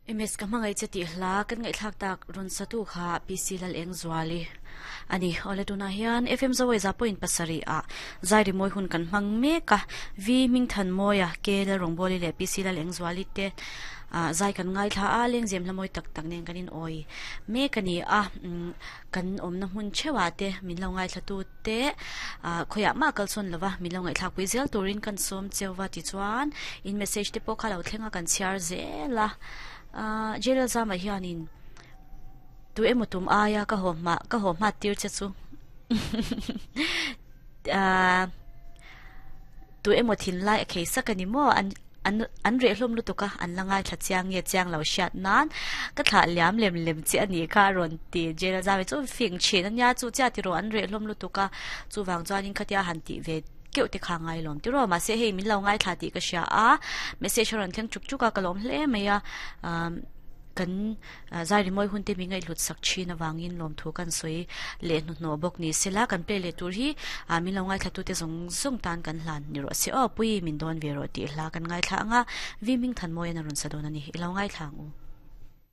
MS ka hmangaih che tih hla kan ngaihthlak tak rawn satu kha PC Lalengzuali a ni. Awle tunah hian FM Zawaiza point pasarih ah zai rimawi hun kan hmang mek a, V Hmingthanmawia, K Lalrawngbawli leh PC Lalengzuali te zai kan ngaithla a, lengzem hla mawi tak tak nen kan in awi mek a ni a, kan awmna hmun theuhah te min lo ngaithlatu te khawiah mah kal sawn lova min lo ngaihthlak pui zel turin kan sawm cheu va tichuan in message te pawh kha lo thleng a kan chhiar zel a ah jail zama hianin tu emaw tum aia ka haw hma ka haw hma tir che chu ah tu emaw thinlai a khei sak a ni maw an An an reh hlawm lutuk a, an la ngaithla chiang nge chiang lo hriat nan ka thlah liam lem lem che a nih kha a rawn ti. Jail zau hi chu fing thin a nia, chu chiah tiraw an reh hlawm lutuk a, chuvang chuanin khatia han tih ve keuh te kha ngai lawm tiraw. Mahse hei min lo ngaithla tih ka hria a, message a rawn thleng chuk chuk a, ka lawm hle mai a, umm kan Zai rimawi hun te min ngaihhlut sak thin avangin lawmthu kan sawi leh hnuhnawh bawk ni sela, kan play leh tur hi min lo ngaithlatute zawng zawng tan kan hlan ni rawh se aw, Pui min dawn ve rawh tih hla kan ngaithla ang a, Vi Hmingthanmawiin a rawn sa dawn a ni, i lo ngaithla ang u.